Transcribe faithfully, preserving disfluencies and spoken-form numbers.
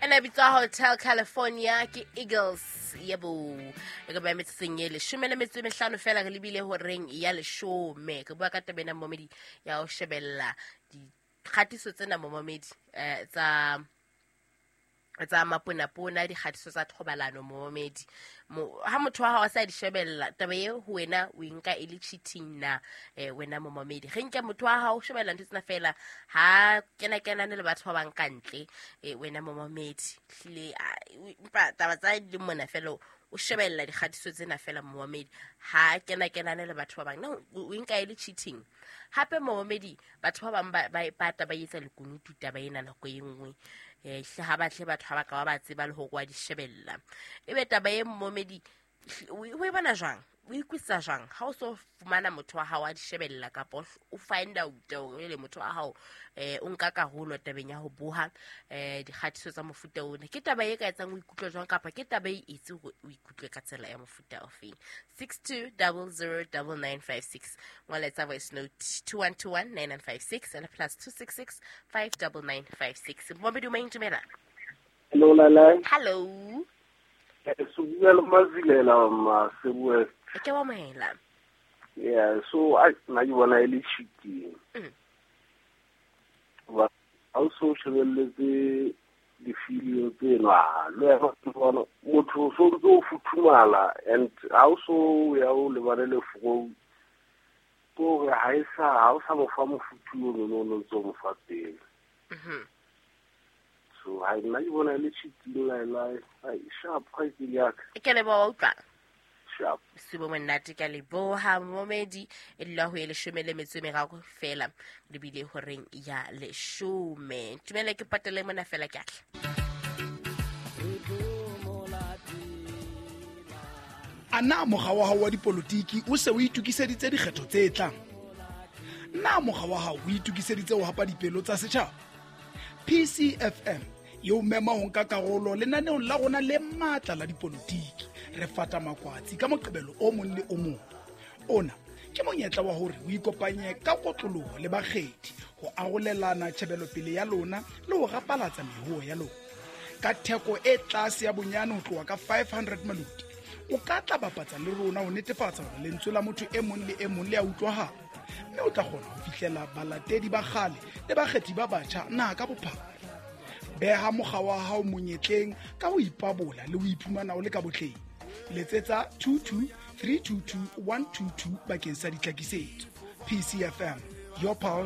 Ena bitswa Hotel California ke Eagles. Yebo, e ka ba metsotsong e leshome le metso e mehlano fela re lebile horeng ya leshome. Re bua ka taba ena, momedi, ya ho shebella dikgatiso tsena, momamedi, eh, tsa tsa maponapona, dikgatiso tsa thobalano, momamedi. Mo, ha motho wa hao a sa di shebella, taba e ho wena o e nka e le cheating na? eh, wena momamedi, re nke motho wa hao o shebella ntho tsena fela, ha kena kenane le batho ba bang ka ntle. eh, wena momamedi, hlile empa taba tsa di le mona fela, o shebella dikgatiso tsena fela, momamedi, ha kena kenane le batho ba bang, na o e nka e le cheating? Hape, momamedi, batho ba bang ba ba e pata, ba etsa lekunutu taba ena nako e nngwe. eh hle ha batle batho ha ba ka ba ba tseba le hore wa di shebella. Ebe taba e, momedi, o e bona jwang? O ikwisa jwang ha o so fumana motho wa hao a di shebella, kapa o find out hore le motho wa hao eh o nka karolo tabeng ya ho boha eh dikgatiso tsa mofuta ona? Ke taba e ka etsang o ikutlwe jwang, kapa ke taba e etse hore o ikutlwe ka tsela ya mofuta ofeng? Six two double zero double nine five six. Ngola voice note two one two one nine nine five six and plus two six six five double nine five six. Momedi, o maintumela. Hello, Lala. Hello. So bua le Mazilela Masebu West. Ke wa amohela. Yeah, so I nna ke bona e le cheating. Mm. Ba ha o so shebelletse di-video tseno, ah, le wena o bona motho o so ntse o futhumala, and ha o so ya o lebane le fro ke hore ha e sa ha o sa mo fa mofuthu ono no no ntse o mo fa pele. Mhm. So ha nna ke bona e le cheating, Laila. Ai, sharp, kgaitsedi ya ka. Ke leboha, wa utlwa. Sharp. Sibo monate, ka leboha, momedi. E dula ho e leshome le metso e meraro fela lebile horeng ya leshome. Tumele ke patele mona fela, ke atla. A na mokga wa hao wa dipolotiki o se o itokiseditse dikgetho tse tlang? Na mokga wa hao o itokiseditse ho hapa dipelo tsa setjhaba? P C F M e o mema ho nka karolo lenaneong la rona le matla la dipolotiki, Re Fata Makwatsi, ka Moqebelo o mong le o mong. Ona ke monyetla wa hore o ikopanye ka kotloloho le bakgethi ho arolelana tjhebelopele ya lona le ho rapalatsa mehuo ya lona. Ka theko e tlase ya bonyane ho tloha ka five hundred maloti, o ka tla bapatsa le rona ho netefatsa hore lentswe la motho e mong le e mong le a utlwahala, mme o tla kgona ho fihlela balatedi ba kgale le bakgethi ba batjha naha ka bophara. Beha mokga wa hao monyetleng ka ho ipabola le ho iphumana o le ka botleng. Letsetsa two two three two two one two two bakeng sa ditlhakisetso. P C F M, your pulse.